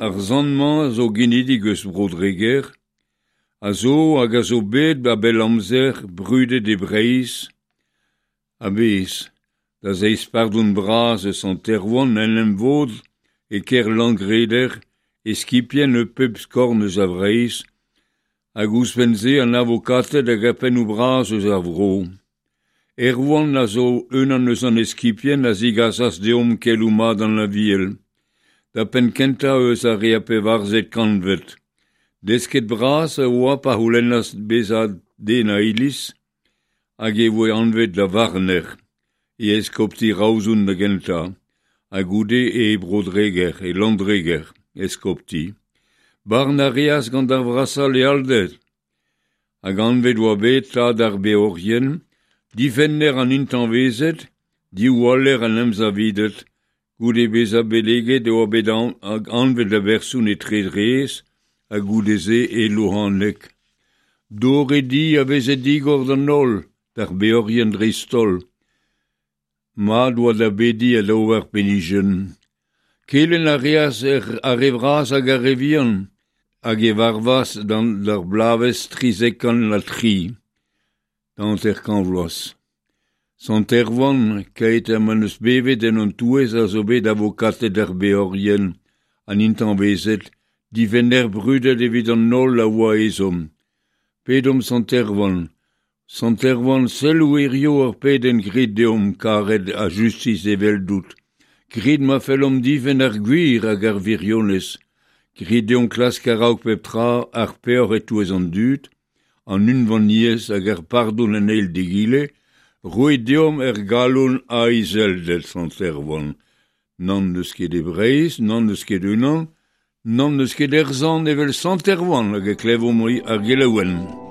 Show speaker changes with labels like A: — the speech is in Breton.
A: Ar sant-mañ a zo genidik eus Bro-Dreger, a zo hag a zo bet a bell amzer brudet e Breizh a-bezh. Da zeiz pardon bras eus Sant Erwan en em vod e kêr Langreder eskipien eus pep skorn eus a Vreizh hag ouzhpenn-se an avokated hag ar pennoù bras eus ar vro. Erwan a zo unan eus an eskipien a zigasas deomp keloù mat an Aviel, da penn-kentañ eus ar re a pevarzek kantved. Desket bras e oa pa c'houlennas bezañ den a iliz hag e voe anvet da varner e eskopti Roazhon da gentañ ha goude e Bro-Dreger, e Landreger, eskopti. Barn a reas gant ar vrasañ lealded hag anvet oa bet tad ar beorien, difenner an intañvezed, diwaller an emsavided. Goude bezañ beleget e oa bet anvet da berson e Tredrez ha goude-se e Louhaneg. Dor e di a veze digor d'an holl, d'ar beorien dreist-holl. Mat oa da bediñ ha da ober penijenn. Kelenn a reas ar re vras hag ar re vihan hag e varvas d'ar bloavezh 373, da 50 vloaz. Sant Erwan, keit ha ma 'neus bevet en hon touez a zo bet avokated ar beorien, an intañvezed, difenner brudet evit an holl a oa ezhomm. Pedomp Sant Erwan. Sant Erwan, selloù hiziv ar pedenn grit deomp karet ha justis eveldout. Grit ma fellomp difenn ar gwir hag ar wirionez. Grit deomp klask a-raok pep tra ar peoc'h e-touez an dud, an unvaniezh hag ar pardon an eil d'egile, roit deomp er galon a izelded, Sant Erwan. Nann n'eus ket e Breizh, nann n'eus ket unan, nann n'eus ket er sant evel Sant Erwan hag e klevomp ar gelaouenn.